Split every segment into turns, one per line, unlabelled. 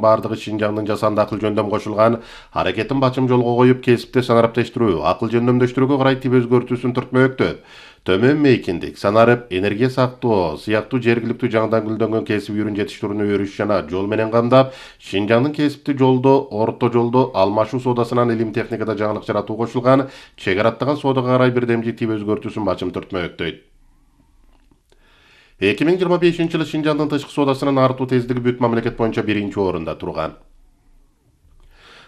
бардыгы Шинжаңдын жасанды акыл жөндөм кошулган аракетин бачым жолго коюп, кесипти санариптештирүү, акыл жөндөмдөштүрүүгө карай тип өзгөртүүсүн түртмөктөп. Төмөн мейкиндик, санарип, энергия сактоо сыяктуу жергиликтүү жаңыдан гүлдөнгөн кесип үйрүн жетиштирүүнү өрүш жана жол менен камдап, Шинжаңдын кесипти жолдо, орто жолдо алмашуу соодасынан илим техникада жаңылык жаратуу кошулган чек араттаган соодага карай бирдемжи тип өзгөртүүсүн бачым түртмөктөйт. 2025-жылы Шинжаңдын тышкы соодасынын артуу тездиги бүт мамлекет боюнча 1-орунда турган.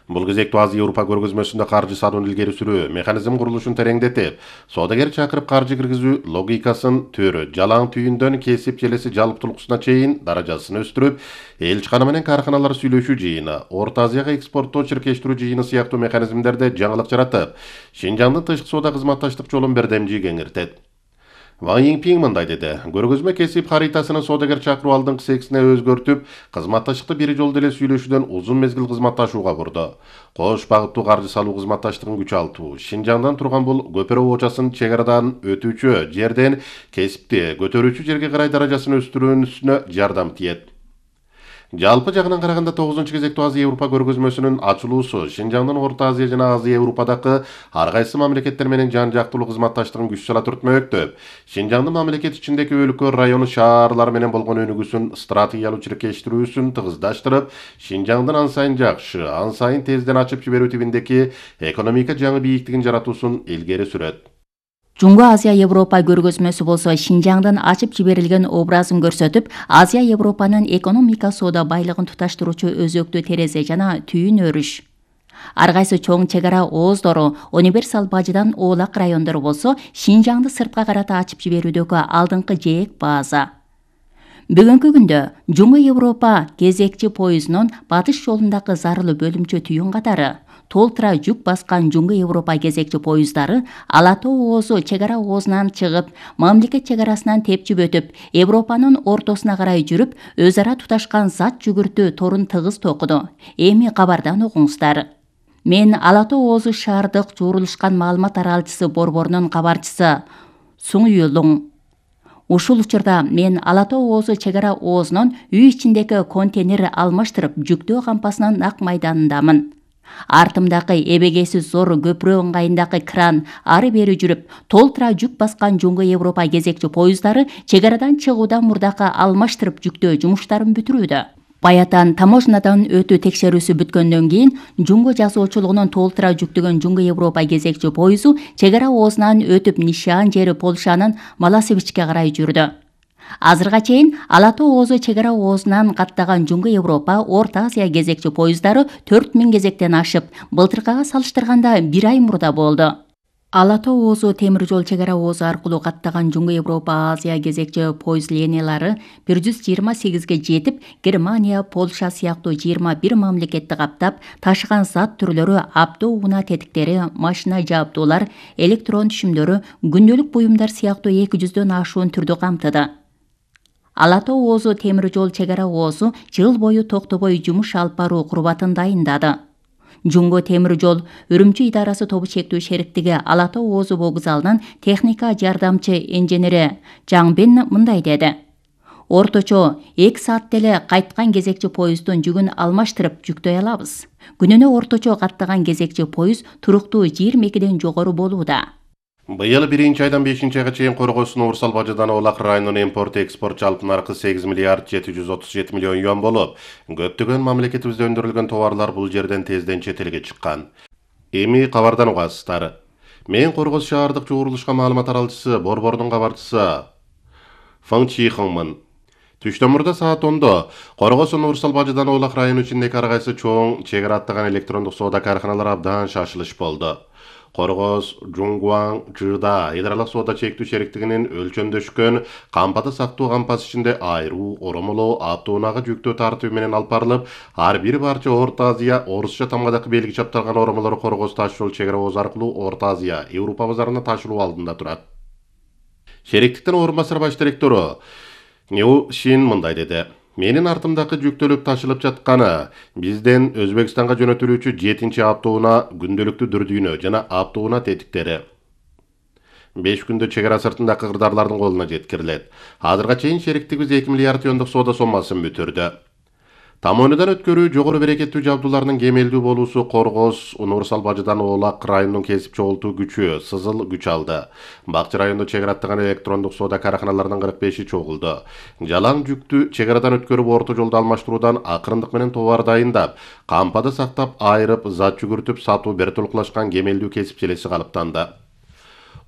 Бул кезекте Азия Европа көргөзмөсүндө каржы салуун илгери сүрүү механизм курулушун тереңдетип, соодагер чакырып каржы киргизүү логикасын төрө, жалаң түйүндөн кесип желеси жалптуулуксуна чейин даражасын өстүрүп, элчикана менен карканалар сүйлөшүү жыйыны, Орто Азияга экспорттоо чиркештирүү жыйыны сыяктуу механизмдерде жаңылык жаратып, Шинжаңдын тышкы соода кызматташтык жолун бирдемжи кеңиртет. Ван Йиңпиң мындай деди: көргөзмө кесип харитасынын соодагер чакыруу алдыңкы сексине өзгөртүп, кызматташтыкты бир жолдо эле сүйлөшүүдөн узун мезгил кызматташууга бурду. Кош багыттуу каржы салуу кызматташтыгын күчалтуу, Шинжаңдан турган бул көпүрө оочасын чек арадан өтүүчү жерден кесипти көтөрүүчү жерге карай даражасын өстүрүүсүнө жардам тиет. Жалпы жагынан караганда 9-кезектүү Азия Европа көргөзмөсүнүн ачылуусу Шинжаңдын Орто Азия жана Азия Европадагы ар кайсы мамлекеттер менен жан жактылуу кызматташтыгын күч сала түртмөктөп, Шинжаңдын мамлекет ичиндеги өлкө, району, шаарлар менен болгон өнүгүүсүн стратегиялуу чиркештирүүсүн тыгыздаштырып, Шинжаңдын ан сайын жакшы, ан сайын тезден ачып жиберүү тибиндеги экономика жаңы бийиктигин жаратуусун илгери сүрөт.
Жунго Азия Европа көргөзмөсү болсо Шинжаңдын ачып жиберилген образын көрсөтүп, Азия Европанын экономика соода байлыгын туташтыруучу өзөктүү терезе жана түйүн өрүш. Ар кайсы чоң чек ара ооздору, универсал бажыдан оолак райондору болсо, Шинжаңды сыртка карата ачып жиберүүдөгү алдыңкы жээк база. Бүгүнкү күндө Жунго Европа кезекчи поездунун батыш жолундагы зарылуу бөлүмчө түйүн катары толтура жүк баскан Жунго Европа кезекчи поезддары Ала Тоо оозу чек ара оозунан чыгып, мамлекет чек арасынан тепчип өтүп, Европанын ортосуна карай жүрүп, өз ара туташкан зат жүгүртүү торун тыгыз токуду. Эми кабардан угуңуздар. Мен Ала Тоо оозу шаардык жуурулушкан маалымат аралчысы борборунун кабарчысы Суң Юлуң. Ушул учурда мен Ала Тоо оозу чек ара оозунун үй ичиндеги контейнер алмаштырып жүктөө кампасынын нак майданындамын. Артымдагы эбегейсиз зор көпүрө ыңгайындагы кран ары бери жүрүп, толтура жүк баскан Жунго Европа кезекчи поезддары чек арадан чыгуудан мурдакы алмаштырып жүктөө жумуштарын бүтүрүүдө. Баятан таможнядан өтүү текшерүүсү бүткөндөн кийин Жунго жазуучулугунун толтура жүктөгөн Жунго Европа кезекчи поезу чек ара оозунан өтүп нишан жери Полшанын Маласевичке карай жүрдү. Азырга чейин Ала Тоо оозу чек ара оозунан каттаган Жунго Европа, Орто Азия кезекчи поезддары 4000 кезектен ашып, былтыркыга салыштырганда 1 ай мурда болду. Ала Тоо оозу темир жол чек ара оозу аркылуу каттаган Жунго Европа Азия кезекчи поезд линиялары 128ге жетип, Германия, Польша сыяктуу 21 мамлекетти каптап, ташыган зат түрлөрү авто унаа тетиктери, машина жабдуулар, электрон түшүмдөрү, күндөлүк буюмдар сыяктуу 200дөн ашуун түрдү камтыды. Ала Тоо оозу темир жол чек ара оозу жыл бою токтобой жумуш алып баруу курбатын дайындады. Жунго темир жол Үрүмчү идарасы тобу чектүү шериктиги Ала Тоо оозу вокзалынын техника жардамчы инженери Жаңбен мындай деди: орточо 2 саатта эле кайткан кезекчи поезддун жүгүн алмаштырып жүктөй алабыз. Күнүнө орточо каттаган кезекчи поезд туруктуу 22ден жогору болууда.
Быйыл 1-айдан 5-айга чейин Коргосун Урсал бажыдан Оолак районунун импорт-экспорт жалпы наркы 8 миллиард 737 миллион юан болуп, көптөгөн мамлекетибизде өндүрүлгөн товарлар бул жерден тезден чет элге чыккан. Эми кабардан угасыздар. Мен Коргос шаардык жуурулушка маалымат аралчысы, борбордун кабарчысы Фың Чихыңмын. Түштөн мурда саат 10-до Коргосун Урсал бажыдан Оолак району ичиндеги ар кайсы чоң чек ара аттаган электрондук соода карканалары абдан шашылыш болду. Коргос, Жуңгуаң, Жыда идаралык соода чектүү шериктигинин өлчөмдөшкөн кампаты сактоо кампасы ичинде айруу, оромолоо, автоунаага жүктөө тартуу менен алып барылып, ар бир парча Орто Азия, орусча тамгадагы белги чапталган оромолор Коргос таш жол чек ара оозу аркылуу Орто Азия, Европа базарына ташылуу алдында турат. Шериктиктин орун басар баш директору Нью Шин мындай деди: менин артымдагы жүктөлүп ташылып жатканы бизден Өзбекстанга жөнөтүлүүчү 7-чи автоунаа күндөлүктүү дүрдүйнө жана автоунаа тетиктери. 5 күндө чек ара сыртындагы кырдаарлардын колуна жеткирилет. Азырга чейин шериктигибиз 2 миллиард юандык соода соммасын бүтүрдү. Тамойнудан өткөрүү жогору берекеттүү жабдуулардын кемелдүү болуусу Коргоз, Универсал Бажыдан Оолак районунун кесип чогултуу күчү Сызыл күч алды. Бакчы районунда чек араттаган электрондук соода караханаларынын 45-и чогулду. Жалаң жүктү чек арадан өткөрүп орто жолду алмаштыруудан акырындык менен товар дайындап, кампада сактап, айрып, зат жүгүртүп сатуу бертөлкулашкан кемелдүү кесип желеси калыптанды.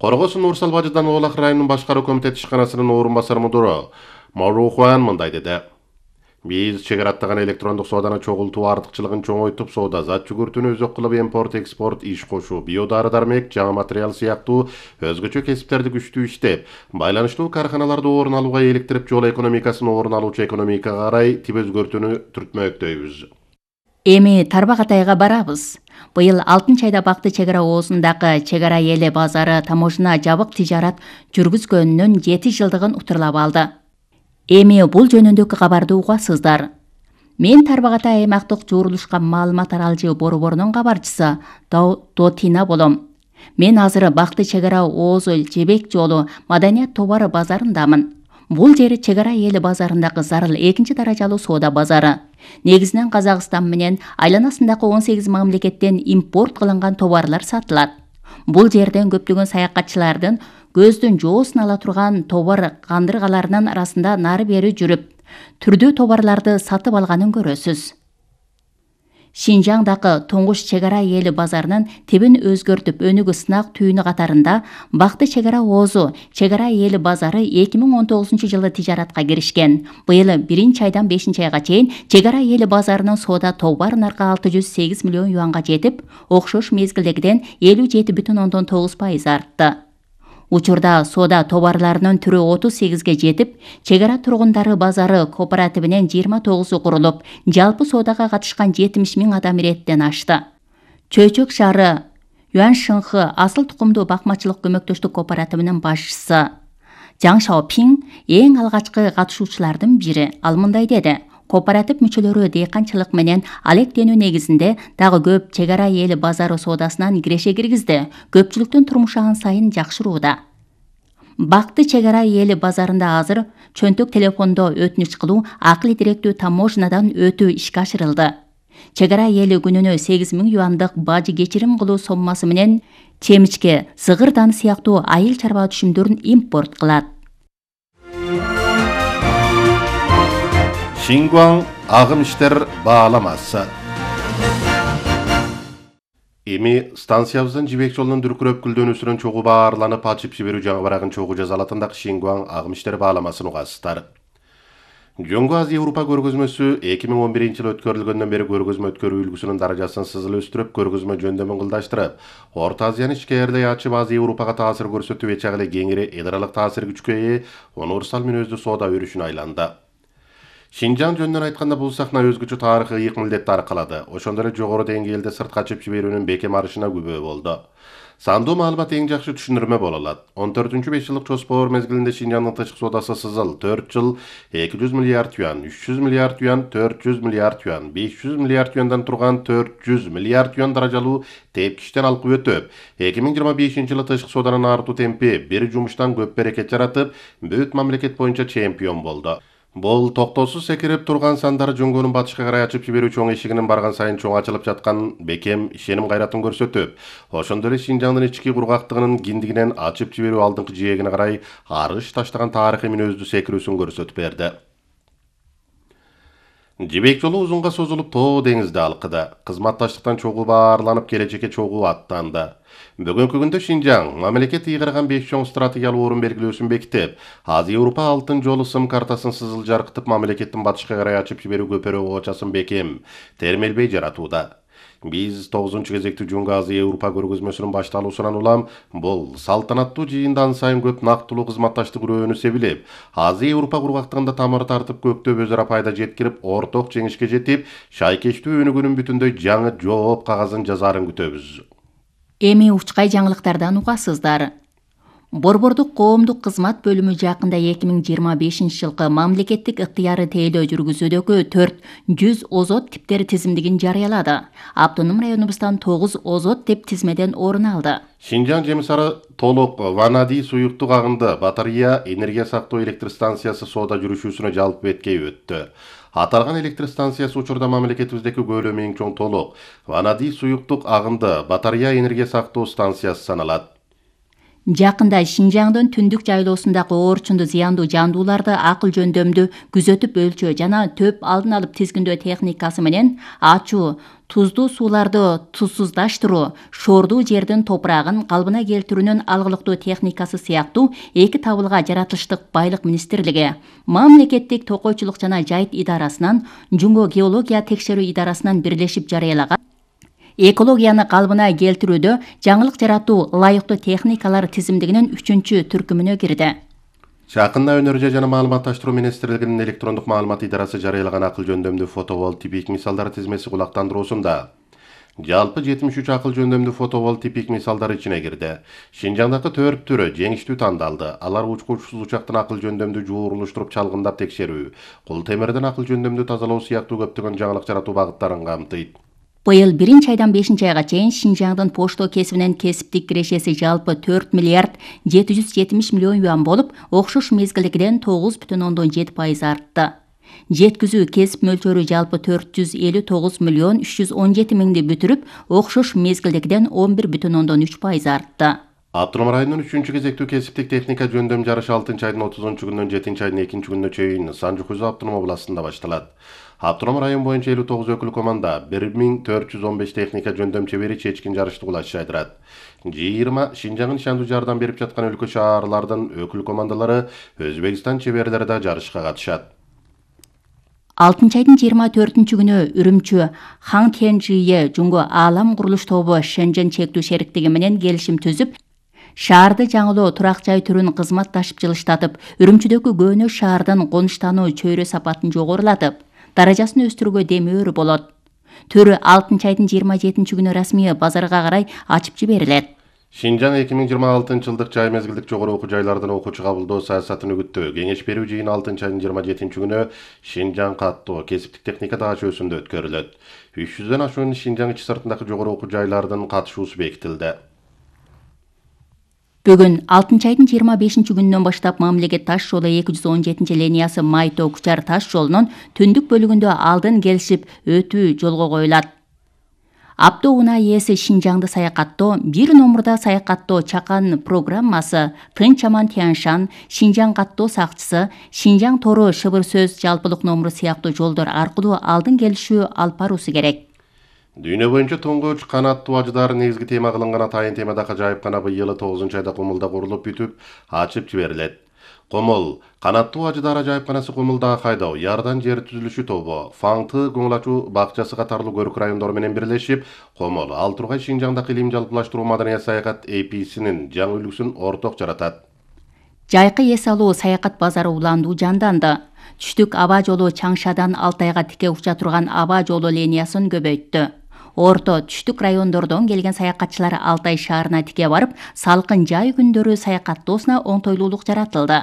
Коргоз Универсал Бажыдан Оолак районунун башкаруу комитети ишканасынын орун басары мудуру Марухуан мындай деди. Биз чек араттаган электрондук сооданы чогултуу артыкчылыгын чоңойтуп, соода зат жүгүртүүнү өзөк кылып импорт-экспорт, иш кошуу, биодары-дармек, жаңы материал сыяктуу өзгөчө кесиптерди күчтүү иштеп, байланыштуу карханаларды орун алууга иликтирип, жол экономикасын орун алуучу экономикага карай тип өзгөртүүнү түртмөктөйбүз.
Эми Тарбагатайга барабыз. Быйыл 6 айда Бакты чек ара оозундагы чек ара эли базары таможна жабык тижарат жүргүзгөнүнүн 7 жылдыгын утурлап алды. Эми бул жөнүндөгү кабарды угасыздар. Мен Тарбагатай аймактык жуурулушка маалымат аралжы борборунун кабарчысы Дотина болом. Мен азыр Бакты чек ара оозу жебек жолу маданият товары базарындамын. Бул жери чек ара эли базарындагы зарыл 2-даражалуу соода базары. Негизинен Казакстан менен айланасындагы 18 мамлекеттен импорт кылынган товарлар сатылат. Бул жерден көптөгөн саякатчылардын көздүн жоосун ала турган товар кандыргаларынын арасында нары бери жүрүп, түрдүү товарларды сатып алганын көрөсүз. Шинжаңдагы тоңуш чек ара эли базарынын тибин өзгөртүп өнүгүү сынак түйүнү катарында Бакты чек ара оозу чек ара эли базары 2019-жылы тижаратка киришкен. Быйыл 1-айдан 5-айга чейин чек ара эли базарынын соода товар наркы 608 миллион юанга жетип, окшош мезгилдегиден 57,9% артты. Учурда соода товарларынын түрү 38ге жетип, чек ара тургундары базары кооперативинен 29 курулуп, жалпы соодага катышкан 70 000 адам иреттен ашты. Чөйчөк шаары Юаншынхы асыл тукумдуу бакмачылык көмөктөштүк кооперативинин башчысы Жаң Шаопин эң алгачкы катышуучулардын бири. Ал мындай деди: кооператив мүчөлөрү дыйканчылык менен алектенүү негизинде дагы көп чек ара эли базары соодасынан киреше киргизди. Көпчүлүктүн турмушу ан сайын жакшырууда. Бакты чек ара эли базарында азыр чөнтөк телефондо өтүнүч кылуу акылы директүү таможнадан өтүү ишке ашырылды. Чек ара эли күнүнө 8 000 юандык бажы кечирим кылуу соммасы менен чемичке, сыгыр даны сыяктуу айыл чарба түшүмдөрүн импорт кылат.
Шингуан агым иштер бааламасы. Эми станциябыздын жибек жолунун дүркүрөп күлдөнүүсүнөн чогуу баарланып ачып жиберүү жаңы барагын чогуу жазалатындагы Шингуан агым иштер бааламасын угасыздар. Жөнгө Азия Европа көргөзмөсү 2011-жылы өткөрүлгөндөн бери көргөзмө өткөрүү үлгүсүнүн даражасын сызыл өстүрүп, көргөзмө жөндөмүн кылдаштырып, Орто Азияны ичкерилей ачып Азия Европага таасир көрсөтүп, эч агыле кеңири эдералык таасир күчкө ээ универсал мүнөздүү соода өрүшүнө айланды. Шинжаң жөнүнөн айтканда бул сахна өзгөчө тарыхый ыйык милдетти аркалады. Ошондой эле жогору деңгээлде сыртка ачып жиберүүнүн бекем арышына күбө болду. Сандуу маалымат эң жакшы түшүндүрмө боло алат. 14-5 жылдык жоспор мезгилинде Шинжаңдын тышкы соодасы сызыл 4 жыл 200 миллиард юан, 300 миллиард юан, 400 миллиард юан, 500 миллиард юандан турган 400 миллиард юан даражалуу тепкичтен алкып өтүп, 2025-жылы тышкы сооданын артуу темпи бир жумуштан көп берекет жаратып, бүт мамлекет боюнча чемпион болду. Бул токтоосуз секирип турган сандары жөнгөнүн батышка карай ачып жиберүү чоң эшигинин барган сайын чоң ачылып жаткан бекем ишеним кайратын көрсөтүп, ошондой эле Шинжаңдын ички кургактыгынын киндигинен ачып жиберүү алдыңкы жээгине карай арыш таштаган тарыхый мүнөздүү секирүүсүн көрсөтүп берди. Жибек жолу узунга созулуп тоо деңизди алкыды. Кызматташтыктан чогуу баарланып, келечекке чогуу аттанды. Бүгүнкү күндө Шинжаң мамлекет ыйгарган 5 чоң стратегиялык орун белгилөөсүн бекитип, Азия Европа алтын жолу сым картасын сызыл жаркытып, мамлекеттин батышка карай ачып жиберүү көпөрө оочасын бекем термелбей жаратууда. Биз 9-кезектүү Жөнгө Азия Европа көргөзмөсүнүн башталуусунан улам бул салтанаттуу жыйындан сайын көп нактылуу кызматташтык өрөөнү себилип, Азия Европа кургактыгында тамыр тартып, көктөп өзара пайда жеткирип, орток жеңишке жетип, шайкечтүү өнүгүүнүн бүтүндөй жаңы жооп кагазын жазаарын күтөбүз.
Эми учкай жаңылыктардан угасыздар. Борбордук коомдук кызмат бөлүмү жакында 2025-жылкы мамлекеттик ыктыяры тейлөө жүргүзүүдөгү 400 озот типтери тизимдигин жарыялады. Автоном районубуздан 9 озот тип тизмеден орун алды.
Шинжаң жемисары толук ванади суюктук агынды батарея энергия сактоо электр станциясы соода жүрүшүүсүнө жалпы беткей өттү. Аталган электр станциясы учурда мамлекетибиздеки көөлөмү эң чоң толук ванадий суюктук агынды батарея энергия сактоо станциясы саналат.
Жакында Шинжаңдын түндүк жайлоосундагы оорчунду зыяндуу жандууларды акыл жөндөмдү күзөтүп өлчөө жана төп алдын алып тизгиндөө техникасы менен ачуу, туздуу сууларды тузсуздаштыруу, шоордуу жердин топурагын калыбына келтирүүнүн алгылыктуу техникасы сыяктуу эки табылга жаратылыштык байлык министрлиги, мамлекеттик токойчулук жана жайыт идарасынан, Жумго геология текшерүү идарасынан бирлешип жарыялаган экологияны калыбына келтирүүдө жаңылык жаратуу ылайыктуу техникалар тизимдигинин 3-түркүмүнө кирди.
Жакында Өнөрү жана маалыматташтыруу министрлигинин электрондук маалымат идарасы жарыялаган акыл жөндөмдүү фотоволтипик мисалдар тизмеси кулактандыруусунда жалпы 73 акыл жөндөмдүү фотоволтипик мисалдар ичине кирди. Шинжаңдагы 4 түрү жеңиштүү тандалды. Алар учкучсуз учактан акыл жөндөмдүү жуурулуштуруп чалгындап текшерүү, кул темирден акыл жөндөмдүү тазалоо сыяктуу көптөгөн жаңылык жаратуу багыттарын камтыйт.
Быйыл 1-айдан 5-айга чейин Шинжаңдын пошто кесибинен кесиптик кирешеси жалпы 4 миллиард 770 миллион юан болуп, окшош мезгилдегиден 9,7% артты. Жеткизүү кесип мөлчөрү жалпы 459 миллион 317 миңди бүтүрүп, окшош мезгилдегиден 11,3% артты.
Автоном районунун 3-кезектүү кесиптик техника жөндөм жарышы 6-айдын 30-күнүнөн 7-айдын 2-күнүнө чейин Санжу-Кузу автоном областында башталат. Автоном район боюнча 59 өкүл команда 1415 техника жөндөм чебери чечкин жарышты кулаш жайдырат. 20 Шинжаңын ишандуу жардам берип жаткан өлкө шаарлардын өкүл командалары Өзбекстан чеберлери да жарышка катышат.
6-айдын 24-күнү Үрүмчү Хангтенжие Жумго Аалам курулуш тобу Шенжен чектүү шериктиги менен келишим түзүп, шаарды жаңылоо турак жай түрүн кызматташып жылыштатып, Үрүмчүдөгү көөнөш шаардын конуштануу чөйрө сапатын жогорулатып, даражасын өстүрүүгө демөөрү болот. Төрү 6-айдын 27-күнү расмий базарга карай ачып жиберилет.
Шинжаң 2026-жылдык жай мезгилдик жогору окуу жайлардын окуучу кабылдоо саясатын үгүттөө кеңеш берүү жыйыны 6-айдын 27-күнү Шинжаң каттоо кесиптик техника даашөсүндө өткөрүлөт. 300дөн ашуун Шинжаң ичи сыртындагы жогору окуу жайлардын катышуусу бекитилди.
Бүгүн 6-айдын 25-күнүнөн баштап мамлекет таш жолу 217 Май-Тоо Кучар таш жолунун түндүк бөлүгүндө алдын келишип өтүү жолго коюлат. Апто унаа ээси Шинжаңды саякаттоо, бир номурда саякаттоо чакан программасы, Тынч аман Тяншан, Шинжаң каттоо сакчысы, Шинжаң тору шыбыр сөз жалпылык номуру сыяктуу жолдор аркылуу алдын келишүү алып баруусу керек.
Дүйнө боюнча туңгуч канаттуу ажыдар негизги тема кылынган атайын темадагы ажайыпкана быйыл 9-айда Кумулда курулуп бүтүп, ачып жиберилет. Комул канаттуу ажыдар ажайыпканасы Кумулда кайдоо, Ярдан жер түзүлүшү тобу, Фаңты көңүл ачуу бакчасы катарлуу көрүк райондору менен бирлешип, Комул Ал Тургай Шинжаңдагы илим жалпылаштыруу маданият саякат APC-нин жаңы үлгүсүн орток жаратат.
Жайкы эс алуу саякат базары уландуу жанданды. Түштүк аба жолу Чаңшадан Алтайга тике уча турган аба жолу линиясын көбөйттү. Орто түштүк райондордон келген саякатчылар Алтай шаарына тике барып, салкын жай күндөрү саякаттоосуна оңтойлуулук жаратылды.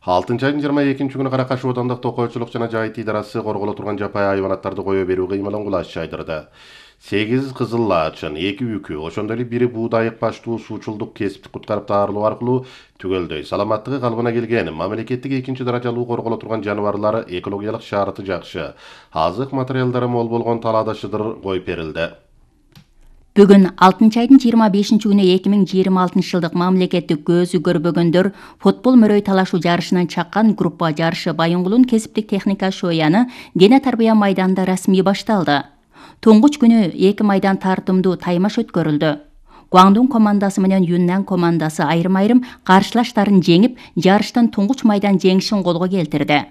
6-айдын 22-күнү Каракаш оодондук токойчулук жана жайыт идарасы корголо турган жапай айванаттарды кое берүү кыймылын кулаш жайдырды. 8 кызыл лаачын, 2 үкү, ошондой эле бири буудайык баштуу суучулдук кесиптик куткарып таарылуу аркылуу түгөлдөй саламаттыгы калыбына келген мамлекеттик 2-даражалуу корголо турган жаныбарлар экологиялык шараты жакшы, азык материалдары мол болгон талаада шыдыр коюп берилди.
Бүгүн 6-айдын 25-күнү 2026-жылдык мамлекеттик көзү көрбөгөндөр футбол мөрөй талашуу жарышынан чаккан группа жарышы Байынгулун кесиптик техника шояны дене тарбия майданында расмий башталды. Туңгуч күнү 2 майдан тартымдуу таймаш өткөрүлдү. Гуаңдун командасы менен Юннан командасы айрым-айрым каршылаштарын жеңип, жарыштын туңгуч майдан жеңишин колго келтирди.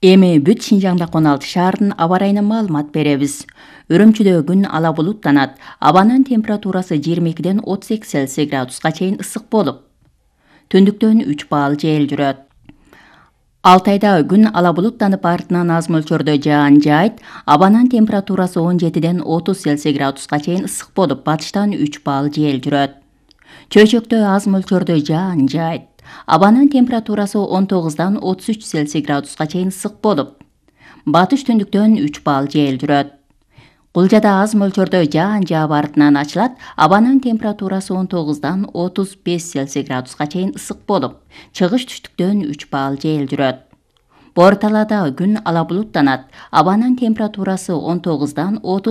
Эми бүт Шинжаңда 16 шаардын аба райынан маалымат беребиз. Үрүмчүдө күн ала булуттанат. Абанын температурасы 22ден 38 Цельсий градуска чейин ысык болуп, түндүктөн 3 баал жел жүрөт. Алтайда күн ала булуттанып, артынан аз мөлчөрдө жаан жайт. Абанын температурасы 17ден 30 Цельсий градуска чейин ысык болуп, батыштан 3 баал жел жүрөт. Чөйчөктө аз мөлчөрдө жаан жайт. Абанын температурасы 19дан 33 Цельсий градуска чейин ысык болуп, батыш түндүктөн 3 баал жел жүрөт. Кулжада аз мөлчөрдө жаан жаап артынан ачылат. Абанын температурасы 19дан 35 Цельсий градуска чейин ысык болуп, чыгыш түштүктөн 3 баал жел жүрөт. Бор талаада күн ала булуттанат. Абанын температурасы 19-дан 30